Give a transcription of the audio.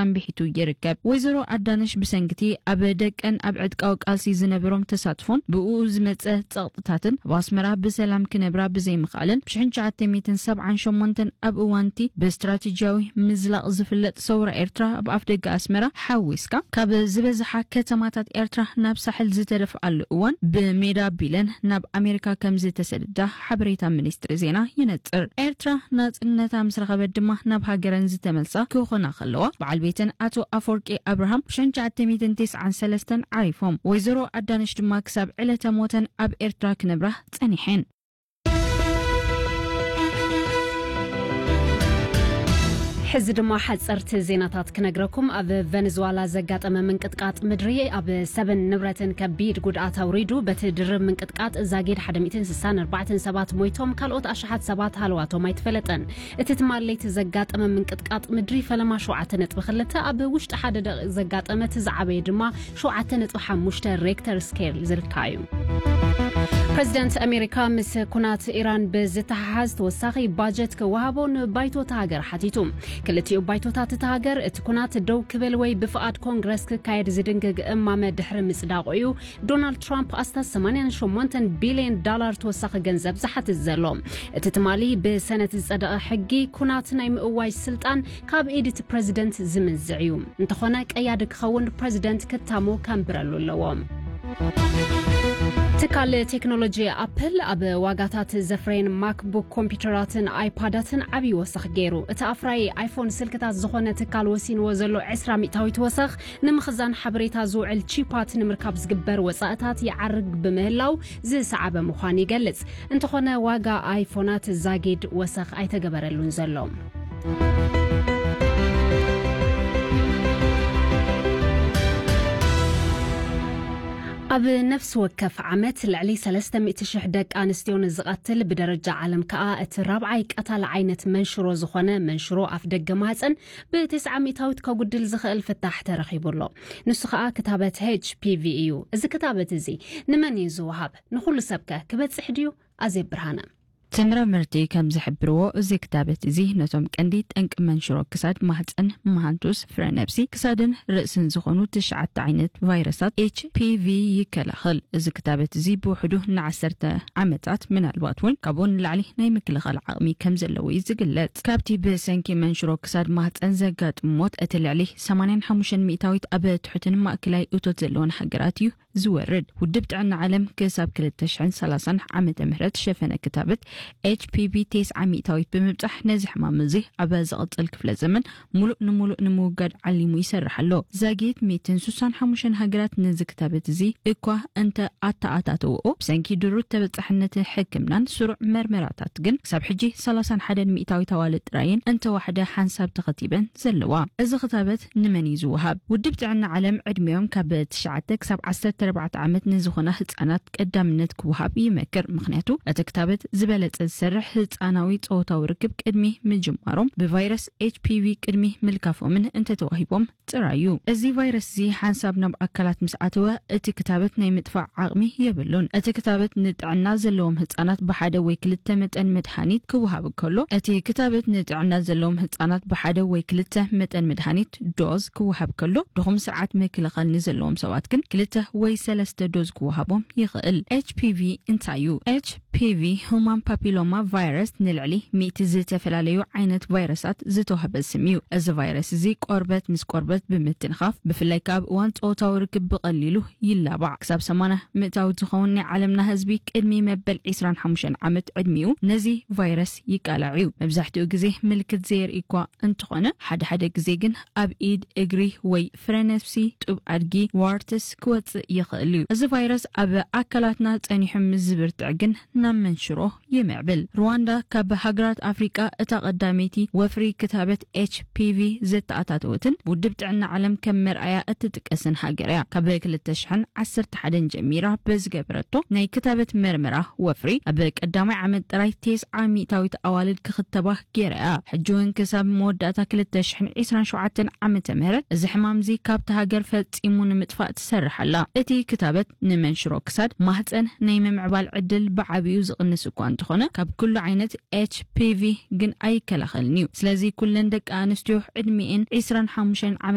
ኣንቢሒቱ ይርከብ። ወይዘሮ ኣዳነሽ ብሰንክቲ ኣብ ደቀን ኣብ ዕጥቃዊ ቃልሲ ዝነበሮም ተሳትፎን ብኡ ዝመጸ ጸቕጥታትን ኣብ ኣስመራ ብሰላም ክነብራ ብዘይምኽኣለን ብሽሕን ትሽዓተ ሚእትን ሰብዓን ሸሞንተን ኣብ እዋንቲ ብስትራቴጂያዊ ምዝላቕ ዝፍለጥ ሰውራ ኤርትራ ኣብ ኣፍደገ ኣስመራ ሓዊስካ ካብ ዝበዝሓ ከተማታት ኤርትራ ናብ ሳሕል ዝተደፍኣሉ እዋን ብሜዳ ቢለን ናብ ኣሜሪካ ከም ዝተሰደዳ ሓበሬታ ሚኒስትሪ ዜና ይነጽር። ኤርትራ ናጽነታ ምስ ረኸበት ድማ ናብ ሃገረን ዝተመልሳ ክኾና ከለዋ በዓል ቤተን ኣቶ ኣፈወርቂ ኣብርሃም ብሽሕን ትሽዓተ ሚእትን ተስዓን ሰለስተን ዓሪፎም። ወይዘሮ ኣዳነሽ ድማ ክሳብ ዕለተ ሞተን ኣብ ኤርትራ ክነብራ ጸኒሐን። ሕዚ ድማ ሓጸርቲ ዜናታት ክነግረኩም። ኣብ ቨነዝዋላ ዘጋጠመ ምንቅጥቃጥ ምድሪ ኣብ ሰብን ንብረትን ከቢድ ጉድኣት ኣውሪዱ። በቲ ድርብ ምንቅጥቃጥ ዛጊድ ሓደ ሚእትን ስሳን ኣርባዕተን ሰባት ሞይቶም፣ ካልኦት ኣሽሓት ሰባት ሃለዋቶም ኣይተፈለጠን። እቲ ትማል ለይቲ ዘጋጠመ ምንቅጥቃጥ ምድሪ ፈለማ ሸውዓተ ነጥቢ ክልተ፣ ኣብ ውሽጢ ሓደ ደቂቕ ዘጋጠመ እቲ ዝዓበየ ድማ ሸውዓተ ነጥቢ ሓሙሽተ ሬክተር ስኬል ዝልካ እዩ። ፕሬዚደንት ኣሜሪካ ምስ ኩናት ኢራን ብዝተሓሓዝ ተወሳኺ ባጀት ክወሃቦ ንባይቶ እታ ሃገር ሓቲቱ። ክልቲኡ ባይቶታት እታ ሃገር እቲ ኩናት ደው ክብል ወይ ብፍቓድ ኮንግረስ ክካየድ ዝድንግግ እማመ ድሕሪ ምጽዳቑ እዩ ዶናልድ ትራምፕ ኣስታት ሰማንያን ሸሞንተን ቢልዮን ዳላር ተወሳኺ ገንዘብ ዝሓትት ዘሎ። እቲ ትማሊ ብሰነት ዝጸደቐ ሕጊ ኩናት ናይ ምእዋጅ ስልጣን ካብ ኢድ እቲ ፕረዚደንት ዝምንዝዕ እዩ። እንተኾነ ቀያዲ ክኸውን ፕረዚደንት ክታሞ ከንብረሉ ኣለዎ። ትካል ቴክኖሎጂ ኣፕል ኣብ ዋጋታት ዘፍረየን ማክቡክ ኮምፒውተራትን ኣይፓዳትን ዓብዪ ወሰኽ ገይሩ። እቲ ኣፍራዪ ኣይፎን ስልክታት ዝኾነ ትካል ወሲንዎ ዘሎ ዕስራ ሚእታዊት ወሰኽ ንምኽዛን ሓበሬታ ዝውዕል ቺፓት ንምርካብ ዝግበር ወጻእታት ይዓርግ ብምህላው ዝሰዓበ ምዃኑ ይገልጽ። እንተኾነ ዋጋ ኣይፎናት ዛጊድ ወሰኽ ኣይተገበረሉን ዘሎ። ኣብ ነፍሲ ወከፍ ዓመት ልዕሊ ሰለስተ ሚእቲ ሽሕ ደቂ ኣንስትዮ ንዝቐትል ብደረጃ ዓለም ከኣ እቲ ራብዓይ ቀታሊ ዓይነት መንሽሮ ዝኾነ መንሽሮ ኣፍ ደገ ማህፀን ብተስዓ ሚእታዊት ከጉድል ዝኽእል ፍታሕ ተረኺቡ ኣሎ። ንሱ ከኣ ክታበት ኤች ፒ ቪ እዩ። እዚ ክታበት እዚ ንመን እዩ ዝወሃብ? ንኹሉ ሰብከ ክበጽሕ ድዩ? ኣዜብ ብርሃነ። ተመራመርቲ ከም ዝሕብርዎ፣ እዚ ክታበት እዚ ነቶም ቀንዲ ጠንቂ መንሽሮ ክሳድ፣ ማህፀን፣ መሃንቱስ፣ ፍረ ነብሲ፣ ክሳድን ርእስን ዝኾኑ ትሽዓተ ዓይነት ቫይረሳት ኤች ፒ ቪ ይከላኸል። እዚ ክታበት እዚ ብውሕዱ ንዓሰርተ ዓመታት፣ ምናልባት እውን ካብኡ ንላዕሊ ናይ ምክልኻል ዓቕሚ ከም ዘለዎ እዩ ዝግለጽ። ካብቲ ብሰንኪ መንሽሮ ክሳድ ማህፀን ዘጋጥም ሞት፣ እቲ ልዕሊ ሰማንያን ሓሙሽተን ሚእታዊት ኣብ ትሑትን ማእከላይ እቶት ዘለዎን ሃገራት እዩ ዝወርድ። ውድብ ጥዕና ዓለም ክሳብ ክልተ ሽሕን ሰላሳን ዓመተ ምህረት ሸፈነ ክታበት ኤች ፒ ቪ ተስዓ ሚእታዊት ብምብጻሕ፣ ነዚ ሕማም እዚ ኣብ ዝቕጽል ክፍለ ዘመን ሙሉእ ንሙሉእ ንምውጋድ ዓሊሙ ይሰርሕ ኣሎ። ዛጊት ሚእትን ስሳን ሓሙሽተን ሃገራት ነዚ ክታበት እዚ እኳ እንተ ኣተኣታተውኦ፣ ብሰንኪ ድሩት ተበጻሕነት ሕክምናን ስሩዕ መርመራታት ግን ክሳብ ሕጂ ሰላሳን ሓደን ሚእታዊት ኣዋልድ ጥራየን እንተዋሕደ ሓንሳብ ተኸቲበን ዘለዋ። እዚ ክታበት ንመን እዩ ዝወሃብ? ውድብ ጥዕና ዓለም ዕድሚኦም ካብ ትሽዓተ ክሳብ ዓሰርተ ኣርባዕተ ዓመት ንዝኾና ህጻናት ቀዳምነት ክወሃብ ይመክር። ምኽንያቱ፣ እቲ ክታበት ዝበለጸ ዝሰርሕ ህጻናዊ ጾታዊ ርክብ ቅድሚ ምጅማሮም፣ ብቫይረስ ኤች ፒ ቪ ቅድሚ ምልካፎምን እንተተዋሂቦም ጥራይ እዩ። እዚ ቫይረስ እዚ ሓንሳብ ናብ ኣካላት ምስ ኣተወ፣ እቲ ክታበት ናይ ምጥፋእ ዓቕሚ የብሉን። እቲ ክታበት ንጥዕና ዘለዎም ህጻናት ብሓደ ወይ ክልተ መጠን መድሃኒት ክወሃብ ከሎ፣ እቲ ክታበት ንጥዕና ዘለዎም ህጻናት ብሓደ ወይ ክልተ መጠን መድሃኒት ዶዝ ክወሃብ ከሎ፣ ድኹም ስርዓት ምክልኻል ንዘለዎም ሰባት ግን ክልተ ወይ ሰለስተ ዶዝ ክወሃቦም ይኽእል። ኤች ፒ ቪ እንታይ እዩ? ኤች ፒ ቪ፣ ሁማን ፓፒሎማ ቫይረስ፣ ንልዕሊ ሚእቲ ዝተፈላለዩ ዓይነት ቫይረሳት ዝተዋህበ ስም እዩ። እዚ ቫይረስ እዚ ቆርበት ምስ ቆርበት ብምትንኻፍ፣ ብፍላይ ከኣ ኣብ እዋን ጾታዊ ርክብ ብቐሊሉ ይላባዕ። ክሳብ ሰማንያ ሚእታዊት ዝኸውን ናይ ዓለምና ህዝቢ ቅድሚ መበል ዕስራን ሓሙሽተን ዓመት ዕድሚኡ ነዚ ቫይረስ ይቃላዕ እዩ። መብዛሕትኡ ግዜ ምልክት ዘየርኢ እኳ እንተኾነ፣ ሓደ ሓደ ግዜ ግን ኣብ ኢድ፣ እግሪ ወይ ፍረ ነፍሲ፣ ጡብ ኣድጊ፣ ዋርትስ ክወጽእ ይኽእል እዩ። እዚ ቫይረስ ኣብ ኣካላትና ጸኒሑ ምስ ዝብርትዕ ግን ናብ መንሽሮ ይምዕብል። ሩዋንዳ ካብ ሃገራት ኣፍሪቃ እታ ቀዳመይቲ ወፍሪ ክታበት ኤች ፒ ቪ ዘተኣታተወትን ብውድብ ጥዕና ዓለም ከም መርኣያ እትጥቀስን ሃገር እያ። ካብ ክልተ ሽሕን ዓሰርተ ሓደን ጀሚራ ብዝገበረቶ ናይ ክታበት መርመራ ወፍሪ፣ ኣብ ቀዳማይ ዓመት ጥራይ ተስዓ ሚእታዊት ኣዋልድ ክኽተባ ገይራ እያ። ሕጂ እውን ክሳብ መወዳእታ ክልተ ሽሕን ዕስራን ሸውዓተን ዓመተ ምህረት እዚ ሕማም እዚ ካብታ ሃገር ፈጺሙ ንምጥፋእ ትሰርሕ ኣላ። እቲ ክታበት ንመንሽሮ ክሳድ ማህጸን ናይ ምምዕባል ዕድል ብዓቢኡ ዝቕንስ እኳ እንተኾነ፣ ካብ ኩሉ ዓይነት ኤች ፒ ቪ ግን ኣይከላኸልን እዩ። ስለዚ ኩለን ደቂ ኣንስትዮ ዕድሚኤን ዕስራን ሓሙሽተን ዓመት